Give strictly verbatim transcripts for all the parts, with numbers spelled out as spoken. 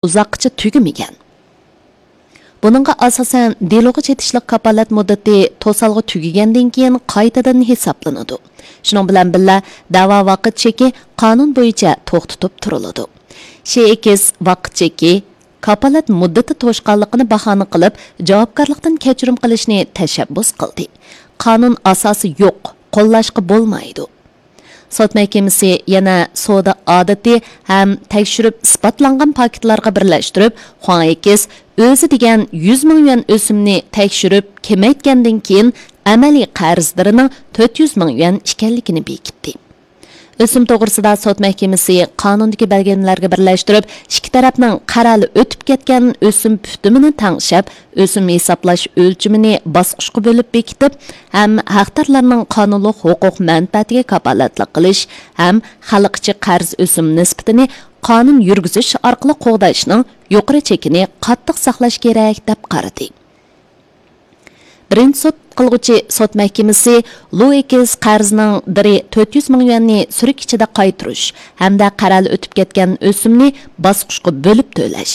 ئۇزاققىچە تۈگىمىگەن. بۇنىڭغا ئاساسەن، دېلوغا چېتىشلىق كاپالەت مۇددىتى توسالغۇ تۈگىگەندىن كېيىن قايتىدىن ھېسابلىنىدۇ. شۇنىڭ بىلەن بىللە، دەۋا ۋاقىت چېكى قانۇن بويىچە توختىتىپ تۇرۇلىدۇ. شېئىكس ۋاقىت چېكى كاپالەت مۇددىتى توشقانلىقىنى باھانە قىلىپ، جاۋابكارلىقتىن كەچۈرۈم قىلىشنى تەشەببۇس قىلدى. قانۇن ئاساسى يوق، قوللاشقا بولمايدۇ. سوت مەھكىمىسى يەنە سودا ئادىتى ھەم تەكشۈرۈپ ئىسپاتلانغان پاكىتلارغا بىرلەشتۈرۈپ، خۇاڭ ئېكس ئۆزى دېگەن يۈز مىڭ يۈەن ئۆسۈمنى تەكشۈرۈپ كېمەيتكەندىن كېيىن، ئەمەلىي قەرزدىرىنىڭ تۆت يۈز مىڭ يۈەن ئىكەنلىكىنى بېكىتتى. ئۆسۈم توغرىسىدا سوت مەھكىمىسى قانۇندىكى بەلگىلىمىلەرگە بىرلەشتۈرۈپ، ئىككى تەرەپنىڭ قەرەلى ئۆتۈپ كەتكەن ئۆسۈم پۈتۈمىنى تەڭشەپ، ئۆسۈم ھېسابلاش ئۆلچىمىنى باسقۇچقا بۆلۈپ بېكىتىپ ھەم ھەقدارلارنىڭ قانۇنلۇق ھوقۇق مەنپەئەتىگە كاپالەتلىك قىلىش ھەم خەلق ئىچى قەرز ئۆسۈم نىسبىتىنى قانۇن يۈرگۈزۈش ئارقىلىق قوغداشنىڭ يۇقىرى چېكىنى قاتتىق ساقلاش كېرەك، دەپ قارىدى. بىرىنچى سوت قىلغۇچى سوت مەھكىمىسى لۇ ئېكس قەرزنىڭ بىرى تۆت يۈز مىڭ يۈەننى سۈرۈك ئىچىدە قايتۇرۇش ھەمدە قەرەلى ئۆتۈپ كەتكەن ئۆسۈمنى باسقۇچقا بۆلۈپ تۆلەش،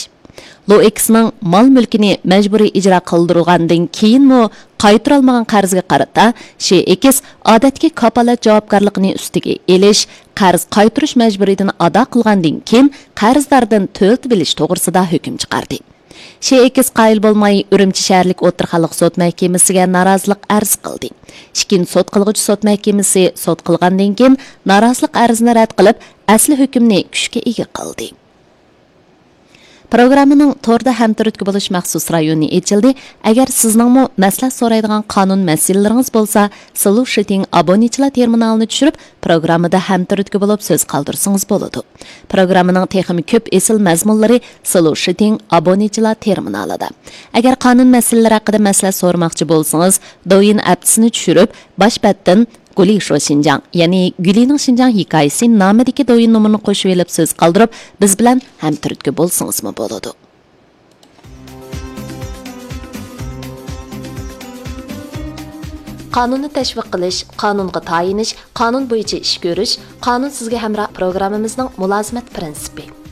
لۇ ئېكسنىڭ مال مۈلكىنى مەجبۇرىي ئىجرا قىلدۇرۇلغاندىن كېيىنمۇ قايتۇرالمىغان قەرزگە قارىتا، شېئىكس ئادەتتىكى كاپالەت جاۋابكارلىقىنى ئۈستىگە ئېلىش، قەرز قايتۇرۇش مەجبۇرىيىتىنى ئادا قىلغاندىن كېيىن قەرزداردىن تۆلىتىۋېلىش توغرىسىدا ھۆكۈم چىقاردى. شېئىكس قايىل بولماي، ئۈرۈمچى شەھەرلىك ئوتتۇرا خەلق سوت مەھكىمىسىگە نارازىلىق ئەرز قىلدى. ئىككىنچى سوت قىلغۇچى سوت مەھكىمىسى سوت قىلغاندىن كېيىن نارازىلىق ئەرزىنى رەت قىلىپ، ئەسلى ھۆكۈمنى كۈچكە ئىگە قىلدى. پروگراممىنىڭ توردا ھەمتۈرتكە بولۇش مەخسۇس رايونى ئېچىلدى. ئەگەر سىزنىڭمۇ مەسلىھەت سورايدىغان قانۇن مەسىلىلىرىڭىز بولسا، سلۇشىتىڭ ئابونېنتچىلار تېرمىنالىنى چۈشۈرۈپ، پروگراممىدا ھەمتۈرتكە بولۇپ سۆز قالدۇرسىڭىز بولىدۇ. پروگراممىنىڭ تېخىمۇ كۆپ ئېسىل مەزمۇنلىرى سلۇشىتىڭ ئابونېنتچىلار تېرمىنالىدا. ئەگەر قانۇن مەسىلىلىرى ھەققىدە مەسلىھەت سورىماقچى بولسىڭىز، دوۋيىن ئەپتىسىنى چۈشۈرۈپ، باش بەتتىن گۇلى شو شىنجاڭ، يەنى گۈلىنىڭ شىنجاڭ ھېكايىسى نامىدىكى دوۋيىن نومۇرىنى قوشۇۋېلىپ سۆز قالدۇرۇپ، بىز بىلەن ھەمتۈرتكە بولسىڭىزمۇ بولىدۇ. قانۇننى تەشۋىق قىلىش، قانۇنغا تايىنىش، قانۇن بويىچە ئىش كۆرۈش، قانۇن سىزگە ھەمراھ پروگراممىمىزنىڭ مۇلازىمەت پىرىنسىپى.